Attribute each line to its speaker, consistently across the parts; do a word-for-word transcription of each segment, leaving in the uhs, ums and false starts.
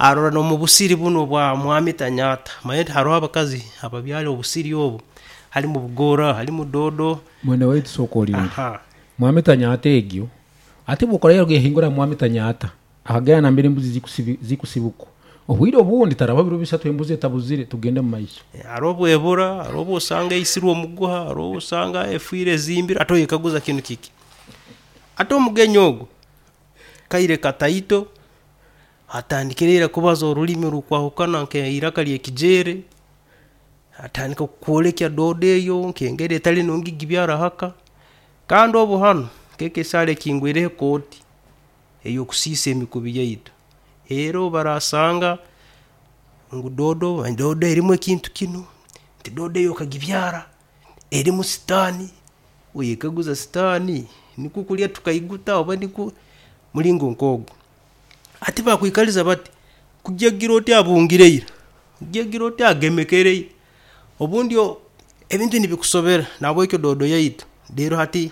Speaker 1: Arora n'omu busiri buno bwa mwami Tanyata, manye haroho abakazi ababyara obusiri obu, halimu bugora, halimu dodo.
Speaker 2: Mwene waitu, sooka olinde.
Speaker 1: Aha.
Speaker 2: Mwami Tanyata egyo ate bwokora yahingura mwami Tanyata akagenda nambere embuzi zikusibi- zikusibuka, obwire obundi taraba biro bisatu embuzi etabuzire. Tugende mu maiso.
Speaker 1: Hariho obwebura, hariho obu osanga eisirwe omuguha, hariho obu osanga efiire ezimbire, ate oyekaguza kinu kiki. Ate omugenyi ogu kaire kataito atandikire ira kubaza orulimi orukwahukana nk'eiraka ly'ekijeere, atandika kukwolekya doodo eyo nk'engeri etali nungi gibyara haka. Kandi obu hanu nk'eka esaara ekingwireho kooti ey'okusiisa emikubi yaitu, era obu baraasanga ngu doodo doodo erimu ekintu kinu, nti doodo eyo okagibyara erimu sitaani, oyekaguza sitaani nikwo kulya tukaiguta oba nikwo mulingo nk'ogu. Hati bakwikaliza bati, kujagira oti abungire ira, kujagira oti agemekere ira, obundi o- ebintu nibikusobera. Nahabwekyo doodo yaitu reero hati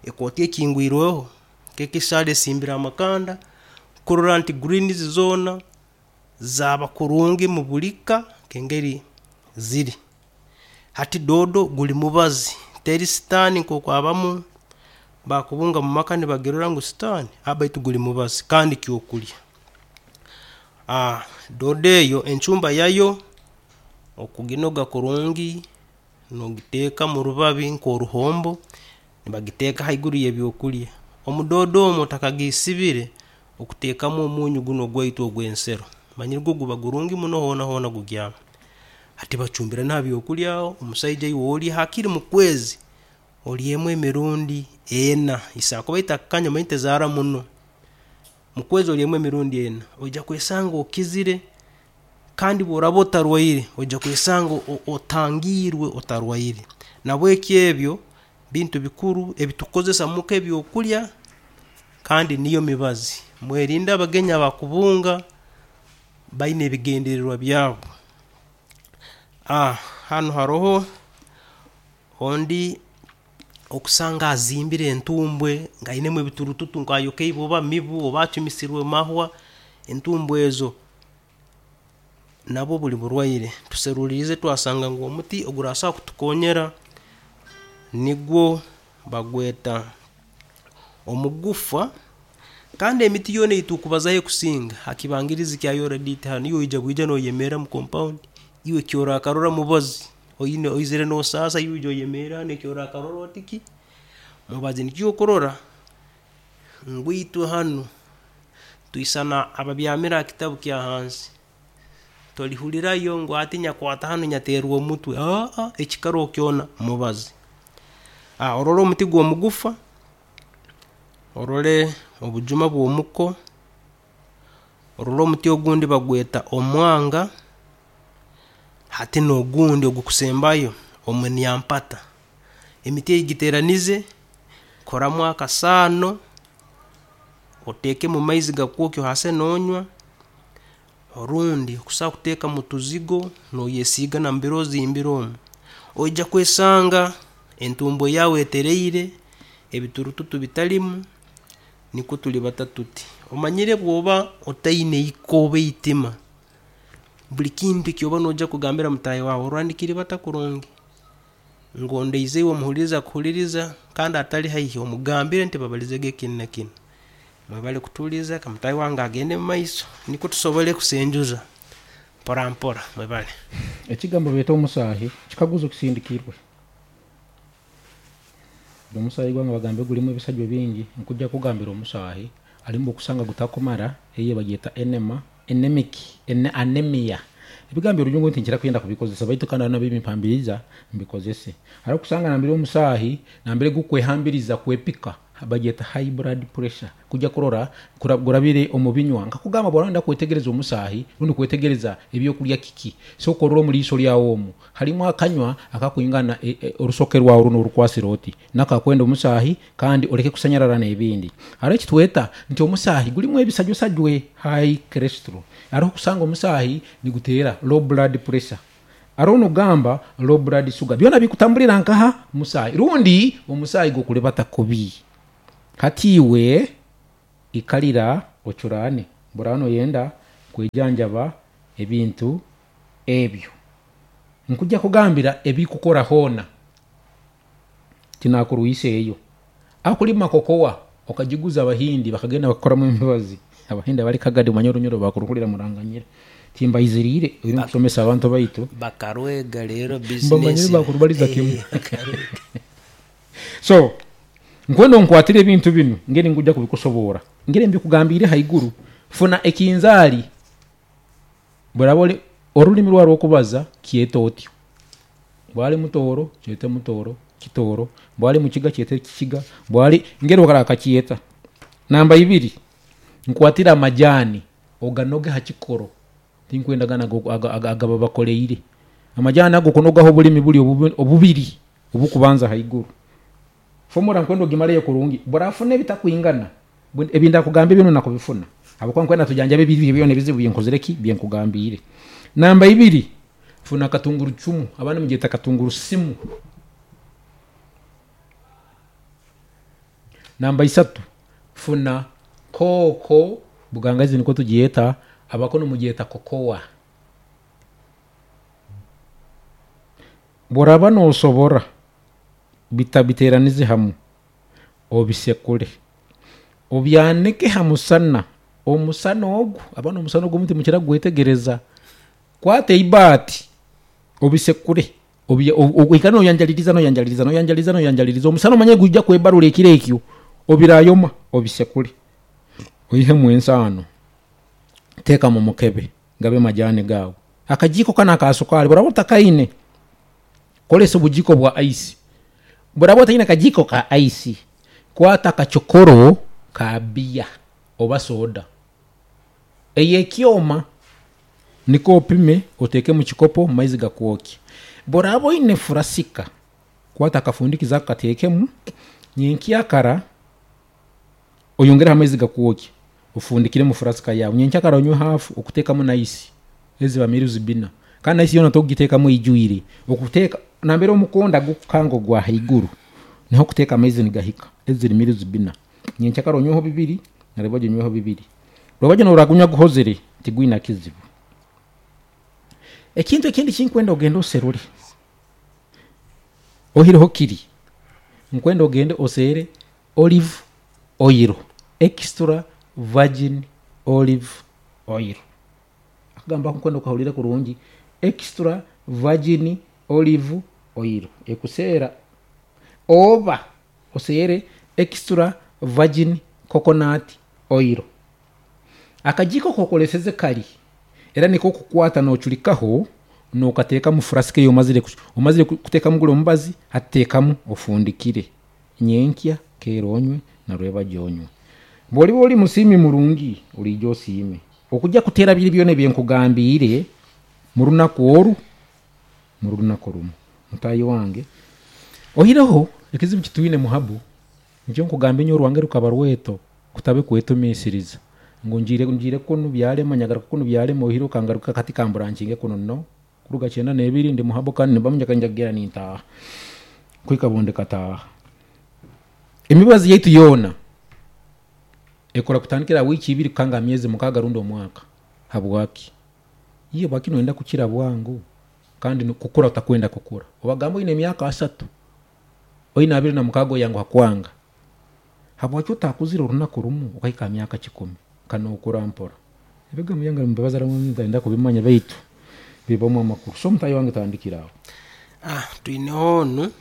Speaker 1: ekooti ekingwirweho, nk'ekisaara esimbire amakanda kurora nti greens zoona zaaba kurungi mu buli ka nk'engeri ziri. Hati doodo guli mubazi, teri sitaani nkooku abamu bakubunga mu maka nibagirora ngu sitaani, baitu guli mubazi kandi kyokulya. Doodo eyo encumba yayo okuginoga kurungi, noogiteeka mu rubabi nk'oruhombo, nibagiteeka haiguru y'ebyokulya. Omu doodo omu otakagisibire, okuteekamu omunyu gunu ogwaitu ogw'ensero, omanyire gwo guba gurungi muno, hoona hoona gugyama. Hati bacumbira na ha byokulya aho, omusaija iwe olye haakiri mu kwezi olyemu emirundi ena, esakuba etakukanya, omanyire tezaara muno, mu kwezi olyemu emirundi ena, oija kwesanga okizire, kandi obu oraaba otarwaire, oija kwesanga otangiirwe otarwaire. Nahabweki ebyo bintu bikuru ebitukozesa muka ebyokulya kandi niyo mibazi. Mwerinde abagenyi abakubunga baine ebigendererwa byabo. Hanu haroho ondi okusanga azimbire entumbwe nga ainemu ebiturututu, nk'ayokeibwe oba mibu oba acumisirwe mahwa, entumbwe ezo nabwo buli burwaire. Tuseruliirize twasanga ngu omuti ogurasobora kutukoonyera nigwo bagweta omugufa. Kandi emiti yoona ei tukubazaaho ekusinga ha kibangirizi kya Yoredit hanu, iwe oija bwija nooyemerra mu compound, iwe eki oraakarora mubazi, oine oizire noosaasa, iwe oija oyemerra hanu eki oraakarora oti ki, mubazi. Nikyo okurora ngu itwe hanu twisana ababyamire ha kitabu kya hansi, tolihurrayo ngu hati nyakwata hanu nyateerwa omutwe, haha, ekikaroho kyona mubazi. Orole omuti gw'omugufa, orole obujuma bw'omuko, orole omuti ogundi bagweta omwanga, hati n'ogundi ogukusembayo omunyampata. Emiti egi giteeranize, koramu akasaano, oteekemu maizi gakwokya ohaase noonywa, orundi okusobola kuteeka mu tuzigo nooyesiiga nambere ozimbire omu, oija kwesanga entumbwe yaawe etereire, ebiturututu bitalimu, nikwo tulibata tuti. Omanyire obu oba otaine iko oba itima, buli kintu eki oba noija kugambira mutaahi waawe orora nikiribata kurungi, ngondeize iwe omuhuliiriza akuhuliiriza kandi atali haihi omugambire nti babalizeege kinu na kinu. Mwebale kutuhuliiriza, leka mutaahi wange agende mumaiso nikwo tusobole kusenjuza mpora mpora, mwebale.
Speaker 2: Ekigambo beeta omusaahi, kikaguzo kisindikirwe. Omusaahi gwange bagambe gulimu ebisajwa bingi, nkujja kugambira omusaahi alimu okusanga gutakumara, eyo bagyeta enema, anemic, anemia. Ebigambo orujungu ntinkira kwenda kubikozesa, baitu kandi nabyo bimpambiriza mbikozese. Hariho kusanga nambere omusaahi nambere gukwehambiriza kwepika, bagyeta high blood pressure, kujya kurora gurabire omu binywa. Nkakugamba bw'orenda kwetegereza omusaahi rundi kwetegereza ebyokulya kiki, sooka orole omu liiso lyawe omu halimu akanywa akakwingana orusoke rwawe runu orukwasire oti, nako kakwenda omusaahi kandi oleke kusanyarara n'ebindi. Haroho ekitweta nti omusaahi gulimu ebisajwesajwe, high cholesterol. Haroho kusanga omusaahi niguteera low blood pressure, haroho nokugamba low blood sugar, byona bikutambulira nkaha musaahi, rundi omusaahi gukulibata kubi. Hati iwe ikalira ocuraane, bworaba noyenda Kwejanjaba ebintu ebyo nkujja kugambira ebikukora hoona tinakuruhisa eyo akulima kokowa okajiguza abahindi bakagenda bakakoramu emibazi. Abahindi abali Kagadi omanye orunyoro bakuruhurira muranganyira timbaiziriire ori kusomesa abantu baitu
Speaker 1: bakarwega rero
Speaker 2: mbamanyire
Speaker 1: business
Speaker 2: bakurubaliza
Speaker 1: Eh,
Speaker 2: kimu.
Speaker 1: Bakarwega.
Speaker 2: So nkwenda nkwatire ebintu binu ngeri nkujja kubikusoboora ngeri mbikugambire haiguru. Funa ekinzaali buraba oli orulimi rwarwo okubaza kyeta otyo, bwali mutooro kyete mutooro kitooro, bwali mukiga kyete kikiga, bwali ngeri okara akakyeta. Namba ibiri, nkwatire amajani oganoge ha kikoro, tinkwenda gana ago- aga- aga- agaba bakoleire amajani ago kunogaho obulimi buli obubi- obubiri obukubanza haiguru. Fomora nkwenda ogimaleyo kurungi burafuna ebitakwingana ebinda kugamba bino nakubifuna habwokuba nkwenda tujanjabe ebiri byona ebizibu byenkozire ki byenkugambire. Namba ibiri, funa katunguru cumu, abandi mugyeta katunguru simu. Namba isatu, funa kooko bugangazi niko tugyeta, abakono mugyeta kokowa. Boraba nosobora bitabiteranize hamu obisekure obyanike ha musana. Omusana ogu abana omusana ogu omuti mukira gwetegereza, kwata eibaati obisekure oikare noyanjaliriza noyanjaliriza noyanjaliriza noyanjaliriza omusana omanye gujja kwebarura ekiro ekyo obirayoma obisekure oihemu ensaano teeka mu mukebe gabe majani gaawe. Akajiiko kana aka sukaari buraba otakaine kolesa obujiiko bwa ice, buraba otaine akajiiko ka ice kwata akachokoro ka biya oba soda eyekyoma niko opime oteeke mu kikopo mu maizi gakwokye. Boraba oine furasika kwata akafundikizo ako kateekemu nyenkyakara oyongereho amaizi gakwokye ofundikire mu furasika yawe. Nyenkyakara onywe hafu okuteekamu naisi eziba miruzi bina, kandi naisi yoona tokugiteekamu eijwire, okuteeka nambere omukonda gukukanga ogwa haiguru niho okuteeka amaizi nigahika eziri miruzi bina. Nyenkyakara onyweho bibiri naribwajo onyweho bibiri, rwabajo noragunywa guhozere tigwina kizibu. Ekintu ekindi kinkwenda ogende oserure ohireho kiri nkwenda ogende osere olive oil, extra virgin olive oil. Akagamba nkwenda okahurire kurungi, extra virgin olive oil ekuseera, oba osere extra virgin coconut oil. Akajiiko kokoleseze kali era niko okukwata nochurikaho nokateeka mu furasika eyo omazire omazire kuteekamu gule omubazi hateekamu ofundikire nyenkya keera onywe narweba gyonywe. Bw'oliba oli musiimi murungi oliija osiime okujja kuteera biri byona ebyenkugambiire mu runaku oru mu runaku rumu. Mutaayi wange ohireho ekizibu kitwine muhabu nikyo nkugamba enyo orwange rukaba rweto kutabe kwetumiisiriza ngu ngiire ngiire kunu byarema nyagaruka kunu byarema ohire okangaruka kati kamburankinge kuno no kuruga kyenda n'ebiri ndi muhabu kandi nibamunjaka njagera nintaaha kwika bundi kataaha. Emibazi yaitu yoona ekora kutandikira wiiki ibiri kukanga myezi mukaaga rundi omwaka. Habwaki? Iye bwaki noyenda kukira bwangu kandi kukura otakwenda kukura. Obagamba oine emyaka asatu oine abiri na mukaaga oyanguha kwanga, habwaki otakuzire orunaku rumu okahika aha myaka kikumi kanokura mpora. Ebigambo byange nibibaza ntenda kubimanya baitu bibamu amakuru. So omutayi wange tandikira aho.
Speaker 1: Ah, twineho onu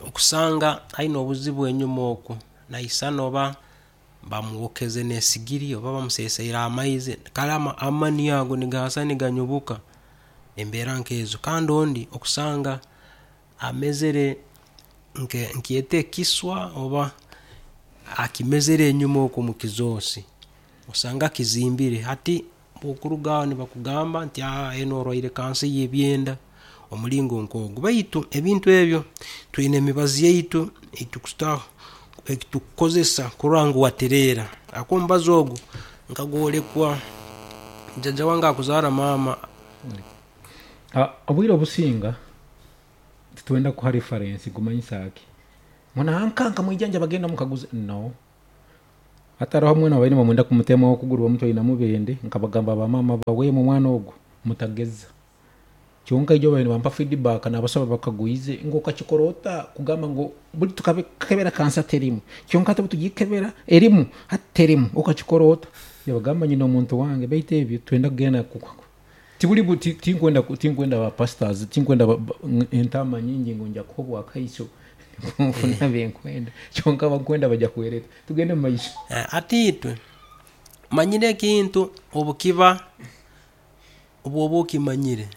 Speaker 1: okusanga aine obuzibu enyuma oku naisana oba bamwokeze n'esigiri oba bamuseeseire amaizi kale amani ago nigaasa niganyubuka embeera nkezo. Kandi ondi okusanga amezere nke nkyete ekiswa oba akimezere enyuma oku mu kizoosi osanga kizimbire. Hati bw'okuruga aho nibakugamba nti aa eno orwaire kansa y'ebyenda omulingo nk'ogu. Baitu ebintu ebyo twine emibazi yaitu eitukuta ekitukukozesa kurora ngu watereera. Ako omubazi ogu nkagworekwa jjajja wange akuzaara maama.
Speaker 2: Obwire obusinga titwenda kuha reference gumanyisa ki mwana ankanka mwijanja bagenda mukaguze no. Hataraho omwana baine bamwenda kumutema okuguru bamutwaine mubende, nkabagamba bamama bawe mu mwana ogu mutageza. Kyonka ijo baine bampa feedback nabasaba bakaguize ngo kakikorota kugamba ngo buli tukabekebera kansa terimu. Kyonka tubutugikebera erimu haterimu okakikorota. Yabagamba nyina omuntu wange baite ebyo twenda kugenda kukwako. Tibuli buti tinkwenda tinkwenda ba pastors tinkwenda entama nyingi ngo nja kuhobwa kaiso. Mfuna benkwenda kyonka bakwenda bajja kuwereta tugende mu maisha.
Speaker 1: Atitwe manyire kintu obukiba obwobo okimanyire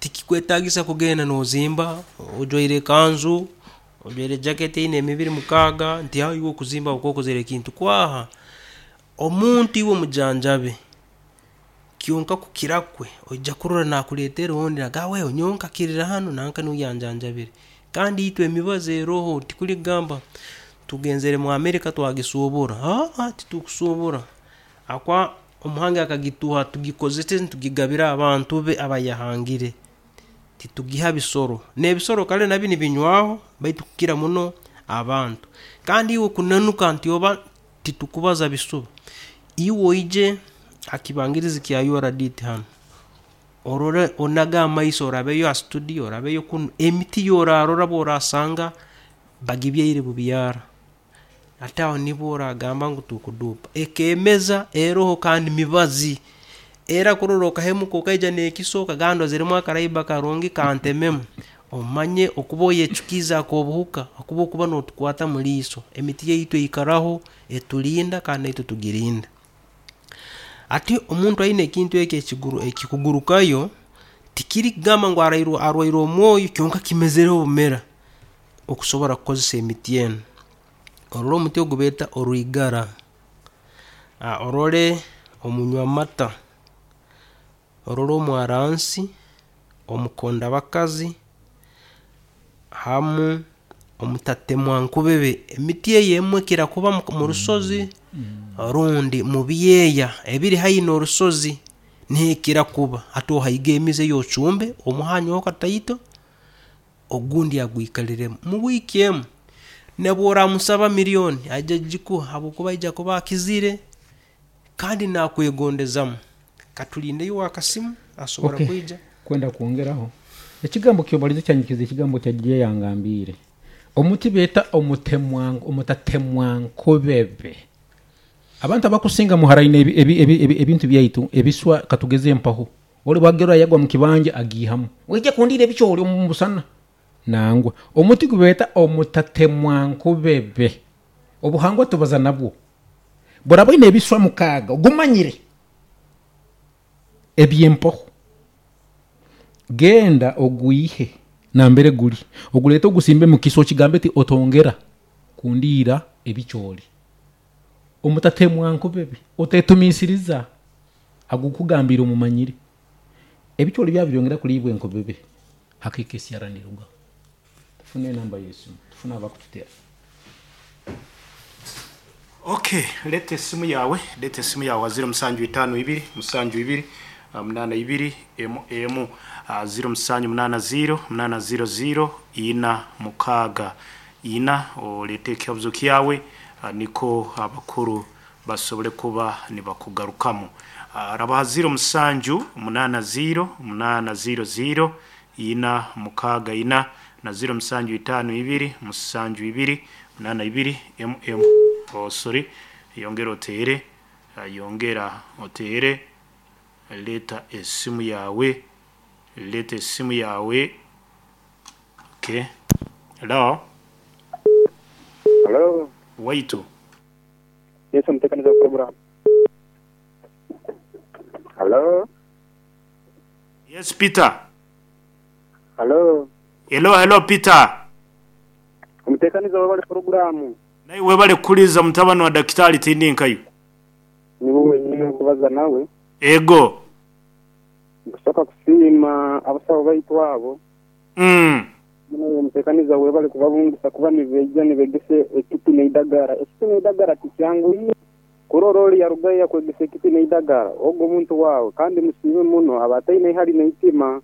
Speaker 1: tikikwetagisa kugenda nozimba ojwaire kanzu ojwaire jacket eine emibiri mukaaga nti aho iwe okuzimba okokozere ekintu kwaha omuntu iwe omujanjabe kyonka kukirakwe ojja kurora nakuleetera ondi aga wewe nyowe nkakirira hanu nanka niwe yanjanjabire. Kandi itwe emibazi eroho tikuli kugamba tugenzere mu Amerika twagisoobora, aa titukusoobora akwa omuhangi akagituha tugikozese ntugigabira abantu be abayahangire, titugiha bisoro n'ebisoro kale nabyo nibinywaho baitu kukira muno abantu. Kandi iwe kunanuka nti oba titukubaza bisuba, iwe oije akibangirizi kya U R D T hanu orore onaga amaiso orabeyo ha studio orabeyo kunu emiti yorarora bworasanga bagibyaire bubyara ate aho nibwo oragamba ngu tukudupa ekemeza eroho kandi mibazi era kurora okahemuka okaija n'ekiso okagamba zirimu akaraiba karungi kantememu omanye okuba oyecukiza ak'obuhuka okuba okuba n'otukwata mu liiso. Emiti yaitu eikaraho etulinda kandi naitwe tugirinda. Ati omuntu aine ekintu eki ekiguru ekikugurukayo tikiri kugamba ngu arairwe arwaire omwoyo kyonka kimezereho obumera okusobora kukozesa emiti enu. Orole omuti ogu beeta orwigara, orole omunywamata, orole omwaransi, omukondabakazi, hamu omutatemwa nkubebe. Emiti eyo emwe ekira kuba mu rusozi rundi mu byeya ebiri haihi n'orusozi niho ekira kuba. Hati ohaiga emizi eyo ocumbe omuhanyeho kataito ogundi agwikaliremu mu wiiki emu nobworamusaba milioni aija kugikuha habwokuba aija kuba akizire kandi nakwegondezamu. Katulindeyo owakasimu asobora
Speaker 2: Okay.
Speaker 1: kwija.
Speaker 2: Kwenda kwongeraho ekigambo kyobalize kyanyikiza ekigambo kya J yangambiire omuti beeta omutemwa omutatemwa nkobebe. Abantu abakusinga muharaine ebi, ebi, ebi, ebi, ebintu byaitu ebiswa katugeze empaho oli bwagera yagwa mu kibanja agihamu ojja kundira ebikyoli omu busana nangwa omuti gubeeta omutatemwa nkobebe. Obuhangwa tubaza nabwo burabaine ebiswa mukaaga ogumanyire ebyempoho genda ogwihe nambere guli oguleta ogusimbe mu kiso kigambe ti otongera kundiira ebikyoli omutatemwa nkobebe otetumisiriza agukugambira omumanyire ebikyoli byabyongera kulibwa enkobebe hakika esyaranirwa. Tufune enamba yesu tufune abakututera.
Speaker 3: Okay, leta esimu yawe, leta esimu yawe ziro musanju itano ibiri, musanju ibiri, munana ibiri, emu emu, ziro musanju munana ziro, munana ziro ziro, ina mukaga ina, olete ekibuzo kyawe niko abakuru basobole kuba nibakugarukamu. Rabaha ziro musanju munana ziro, munana ziro ziro, ina mukaga ina, na ziro musanju itano ibiri, musanju ibiri, munana ibiri, emu emu. Oh, sorry, yongera otere, yongera otere, leta esimu yawe, leta esimu yawe. Okay. Hello.
Speaker 4: Hello.
Speaker 3: Waitu.
Speaker 4: Yes, mtekaniza program. Hello.
Speaker 3: Yes, Peter.
Speaker 4: Hello.
Speaker 3: Hello, hello Peter.
Speaker 4: Mtekaniza wabale programu.
Speaker 3: Naye webale kuliza mutabani wa daktari Tindinkayo.
Speaker 4: Ni wewe nyine kubaza nawe.
Speaker 3: Ego.
Speaker 4: Nkusoka kusima abasawo baitu abo.
Speaker 3: Mm.
Speaker 4: Muno mtekaniza webale kubabungisa kuba nibeija nibegese ekiti neidagara. Ekiti neidagara tikyangu kurora oli yarugaya kwegesa ekiti neidagara. Ogo muntu wawe kandi musime muno abataine hali neitima.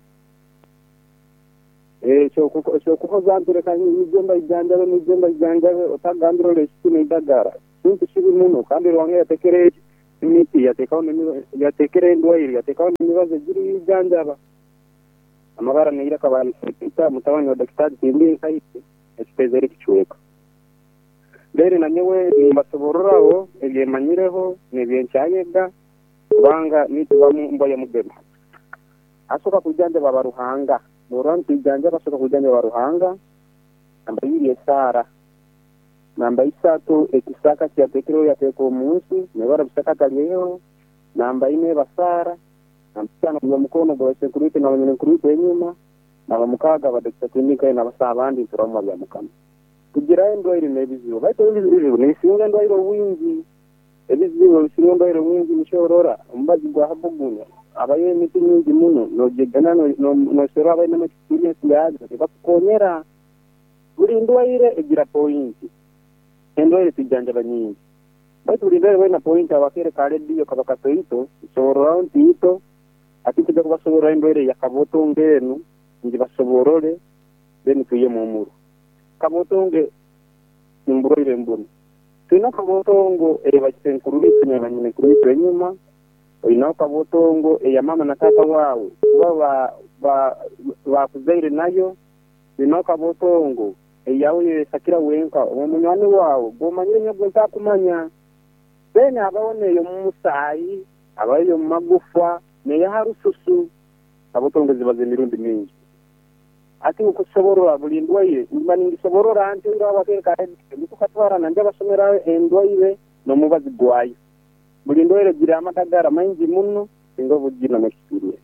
Speaker 4: Eh kyo kuhoza ntureka nijemba ijanjabe nijemba ijanjabe otagambira ole ekiti neidagara. Kintu kibi muno kandi Ruhanga yatekere emiti yatekaho yatekere endwaire yatekaho n'emibazi egiri ijanjaba. Amabara neira kabanita mutabani wa daktari Timbi Nkaite ekitezere kichweka. Mbere na nyewe nimbasobororao ebyemanyireho n'ebyenkyayega kubanga nitubamu mbwa ya mugema. Asoka kujanja baba Ruhanga. Norwa ntijanja basoka kujanja baba Ruhanga. Namba ibiri esara. Namba isatu ekisaka kyatekero yateko omunsi nebara bisaka kalyeho. Namba ine basara. Namba tano kwa mukono gwa security na banyene security enyuma. Namba mukaga ba Doctor Tindika na basaba abandi turamo bya mukama. Kugira endwaire n'ebizibu. Baitu ebizibu nisinga endwaire obwingi. Ebizibu bisinga endwaire obwingi nishorora omubazi gwa habugunya. Abayo emiti mingi muno nojegana nosera abaine experience yazo bakukonyera. Buli ndwaire egira point. Endwaire tijanjaba nyingi. Baitu buli ndwaire wena point abakere ka radio kabakatoito soborora ntito ati kujja kubasoborora endwaire ya kabotonge enu ngibasoborore then tuye mu muru. Kabotonge imburoire mbuni. Tuna kabotongo ebakisenkuru bitu nyabanyine kuri enyuma. Oyina kabotongo eya mama na tata wawe kuba ba bakuzaire nayo. Oyina kabotongo eyawe yesakira wenka omunywani wawe gomanyire nyo ntakumanya. Bene abaone yo musayi abayo magufa neya harususu. Kabotongo zibaze mirundi mingi. Ati ukusoborora buli ndwaire mba ningisoborora anti ndo abakereka ndikukatwara nanje abasomera endwaire nomubazi gwayo. Buli ndwaire gira amatagara maingi muno singa bugina n'experience.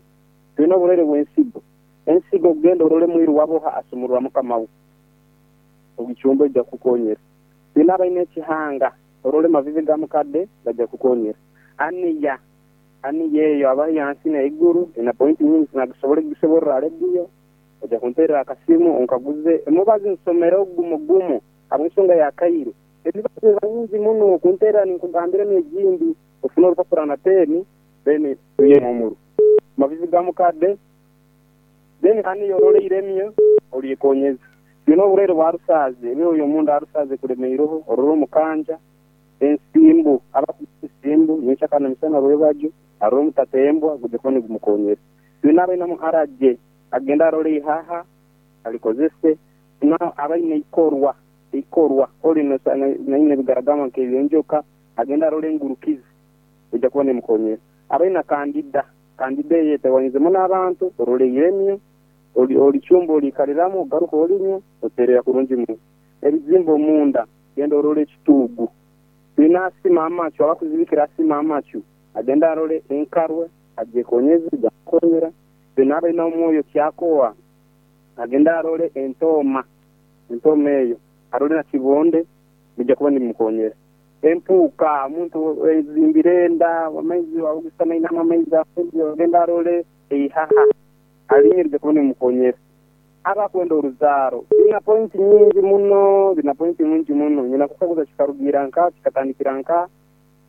Speaker 4: Twina oburere bw'ensigo. Ensigo genda orole mwiru waboha asumurwa mukama we. Ogichumbo ija kukonyera. Twina abaine ekihanga orole mavivi ga mukadde bajja kukonyera. Aniya aniya eyo abayansi na iguru ina point nyingi sinagisobole gisoborora radio. Oja kuntera akasimu onkaguze emubazi nsomero ogumu gumu ab'ensonga ya kairo. Ebibazo nyingi muno kuntera ninkugambira n'egindi ofuna orupapura na peni then tuye mumuru. Mavivi ga mukadde then ani yorole iremyo olyekonyeza. Bino oburere bwa rusaze ebyo oyo mundu arusaze kulemeiroho ororo mukanja ensimbu abakusimbu nyichakana misana rwebajo aroro mutatembwa gujekoni gumukonyera. Bino abaina muharaje agenda arole ihaha alikozese na abaine ikorwa ikorwa oli naine bigaragama nk'ebyenjoka agenda arole ngurukizi ujja kuba nemukonyera. Abaina kandida kandida yetewanyizemo n'abantu orole iremyo oli oli chumbo olikaliramu garuka olinyo oterera kurungi mu ebizimbo munda genda orole ekitugu. Bina asima amacho abakuzibikira asima amacho agenda arole enkarwe ajekonyeze jakonyera. Bina abaina omwoyo kyakowa agenda arole entoma entoma eyo arole na kibonde bijja kuba nimukonyera. Empuka omuntu ezimbirenda amaizi awugusana inama amaizi agenda arole eihaha alinyirije kuba nimukonyera. Abakwenda oruzaro bina point nyingi muno bina point nyingi muno nyina kukaguza kikarugira nka kikatandikira nka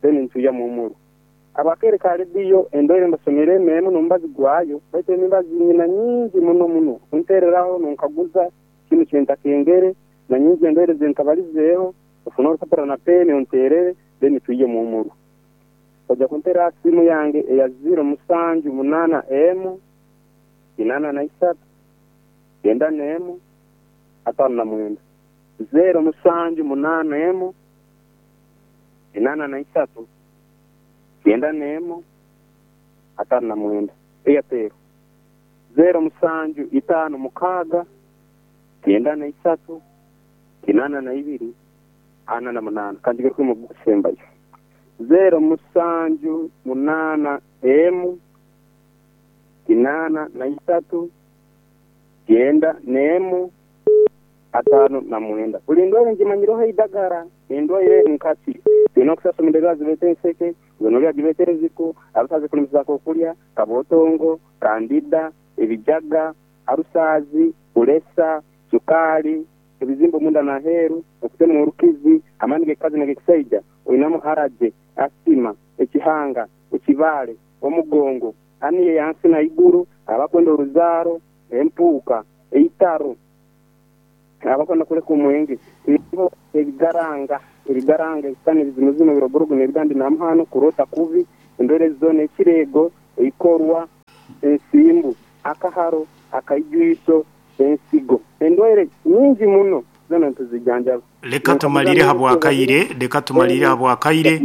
Speaker 4: then ntuya mu muru. Abakere ka radio endwaire mbasomere memu nombazi gwayo baitu embazi nyina nyingi muno muno untereraho nonkaguza kinu kyenta kengere na nyingi endwaire zentabalizeeho ofuna orupapura na peni onterere then tuye mu muru. Oja kuntera simu yange eya zero musanju munana emu inana na isatu kenda nemu atano na mwenda. Zero musanju munana emu inana na isatu kenda nemu atano na mwenda. Airtel zero musanju itano mukaga kenda na isatu kinana na ibiri ana na munana. Kanjige kuri mu gusembayo. Zero musanju munana emu kinana na isatu kenda nemu atano na mwenda. Buli ndwaire ngimanyiroho idagara endwaire nkati bino kusasomera zibete enseke gonorrhea gibete eziko abasaze kulimizako okulya kabotongo kandida ebijaga arusazi ulesa sukali ebizimbo munda na heru okutema orukizi amani gekazi negekisaija oyinamu haraje asima ekihanga ekibale omugongo aniye yansi na iguru abakwenda oruzaro empuka eitaro abakwenda kuleka omwenge ebigaranga. ebigaranga ebisani ebizimuzimu ebirogorogo n'ebigandi namuhano kurota kubi endwere zona ekirego eikorwa ensimbu akaharo akaijwiso ensigo endwere nyingi muno zona ntuzijanjaba.
Speaker 3: Leka tumalire habwakaire, leka tumalire habwakaire.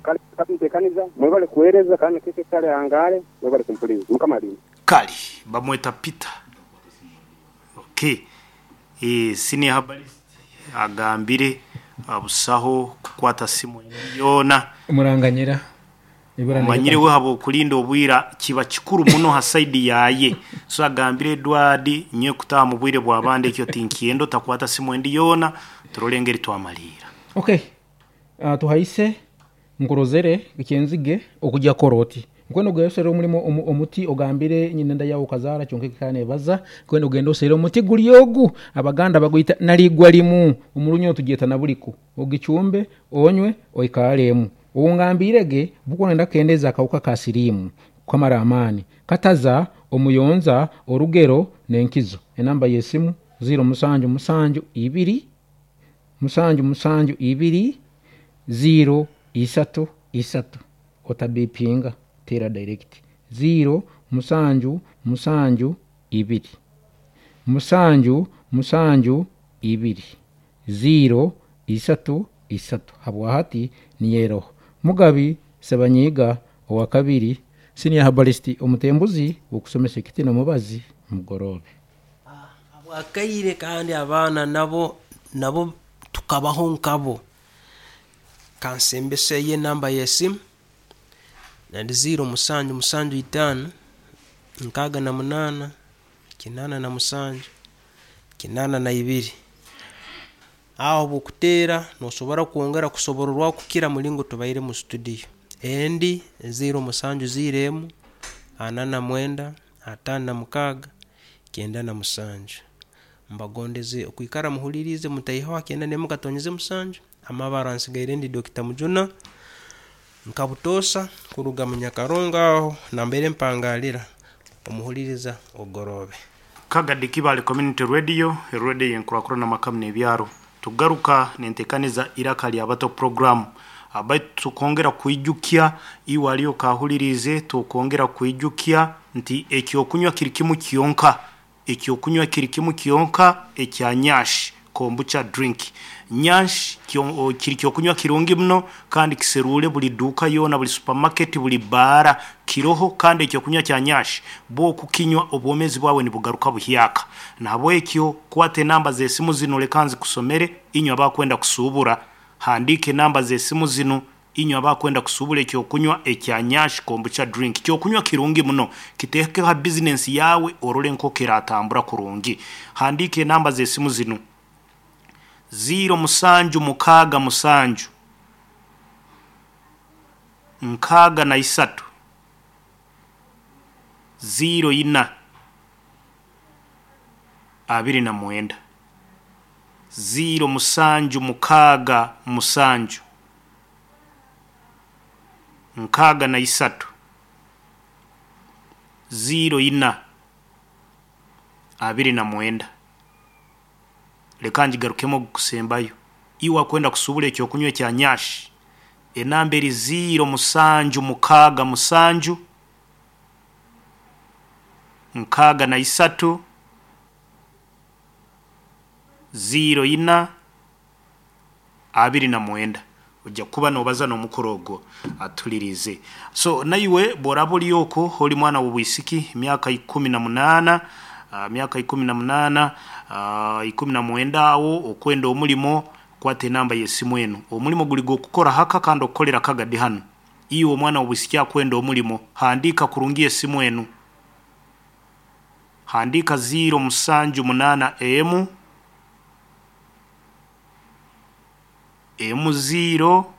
Speaker 4: Kale katumtekaniza mwebale kuhereza kandi keke kale angale mwebale kumpuliza mukamalini.
Speaker 3: Kali bamweta Peter. Okay. Eh senior herbalist agambire abusaho kukwata simu yona
Speaker 2: muranganyira
Speaker 3: manyire we habo kulinda obwira kiba kikuru muno ha side yaye. So agambire Edward nye kutaha mu bwire bwa bande ekyo tinkiendo takwata simu endi yona turolengeri twamalira.
Speaker 2: Okay. Uh, tuhaise nkurozere ekyenzige okujya koroti nkwenda ogayosere omulimo omuti ogambire nyinenda yawo kazara kyonke kane baza kwenda ogenda osere omuti guli ogu abaganda baguyita naligwa limu omulunyo tujeta nabuliku ogichumbe onywe oikalemu ungambirege buko nenda kendeza akawuka ka sirimu kamara amani kataza omuyonza orugero nenkizo. Enamba yesimu zero musanju musanju ibiri musanju musanju ibiri zero isatu isatu otabipinga tera direct zero musanju musanju ibiri musanju musanju ibiri zero isatu isatu habwahati niyero Mugabi Sebanyiga owa kabiri senior herbalist omutembuzi okusomesa ekitino mubazi mugorobe.
Speaker 1: Abwakaire kandi abaana nabo nabo tukabaho nkabo. Kansembese ye namba yesimu nandi zero musanju musanju itano nkaga na munana kinana na musanju kinana na ibiri. Aho bukutera nosobora kuongera kusobororwa kukira mulingo tubaire mu studio. Endi zero musanju zero emu anana mwenda atano na mukaga kenda na musanju. Mbagondeze okuikara muhulirize mutaihawa kenda nemu katonyeze musanju. Amabara nsigaire ndi Dokita Mujuna nkabutosa kuruga munyakaronga aho nambere mpangalira omuhuliriza ogorobe.
Speaker 3: Kagadi Kibale Community Radio, radio yenkurakura na makamu n'ebyaro. Tugaruka nentekaniza iraka lya bato program. Abai tukongera kuijukia iwe aliyo kahulirize, tukongera kuijukia nti ekyokunywa kiri kimu kiyonka, ekyokunywa kiri kimu kiyonka ekya nyash kombucha drink. Nyash kiri kyokunywa kirungi muno kandi kiserule buli duka yona buli supermarket buli bara kiroho kandi ekyokunywa kya nyash bo kukinywa obwomezi bwawe nibugaruka buhyaka. Na ekyo kwate namba z'esimu zino lekanzi kusomere inywa abakwenda kusubura. Handike namba z'esimu zino inywa abakwenda kusubura ekyokunywa ekya nyash kombucha drink. Kyokunywa kirungi muno kiteke ha business yawe orole nko kiratambura kurungi. Handike namba z'esimu zino zero musanju mukaga musanju nkaga na isatu zero ina abiri na mwenda zero musanju mukaga musanju nkaga na isatu zero ina abiri na mwenda. Leka njigarukemo kusembayo iwa kwenda kusubula ekyokunywa ekya nyash enamba eri zero musanju mukaga musanju nkaga na isatu zero ina abiri na mwenda. Ojja kuba nobaza n'omukoro atulirize. So naiwe borabo lyoko holi mwana w'obwisiki myaka ikumi na munana Uh, miaka ikumi na munana uh, ikumi na mwenda awo okwenda omulimo kwate namba yesimu eno. Omulimo guli gokukora haka kandi okukolera kagadi hano. Iwe omwana w'obwisiki akwenda omulimo handika kurungi esimu eno. Handika zero musanju munana emu emu zero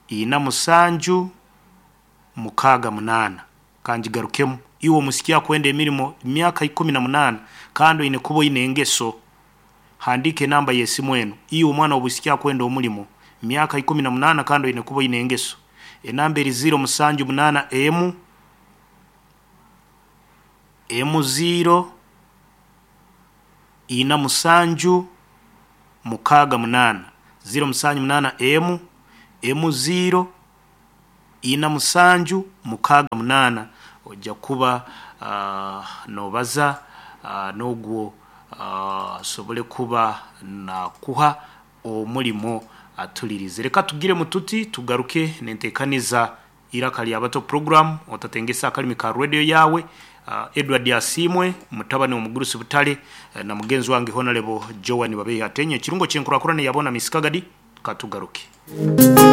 Speaker 3: ina musanju mukaga munana. Kanjigarukemu iwe omusiki akwenda emirimo myaka ikumi na munana kandi ine kubo ine engeso. Handike namba yesimu eno. Iwe omwana w'obwisiki akwenda omulimo myaka ikumi na munana kandi ine kubo ine engeso. Enamba eri zero musanju munana emu emu zero ina musanju mukaaga munaana ziro musanju munaana emu emu ziro ina musanju mukaaga munaana. Ojja kuba uh, nobaza uh, n'ogwo asobole uh, kuba nakuha omulimo atulirize. Reka tugire mututi tugaruke nentekaniza Iraka Lyabato program. Otatengesa akalimi ka radio yawe. uh, Edward Asimwe mutabani omugurusi butale uh, na mugenzi wange Honorable Joan Babehi atenye ekirungo kyenkurakurana yabona misikagadi. Katugaruke.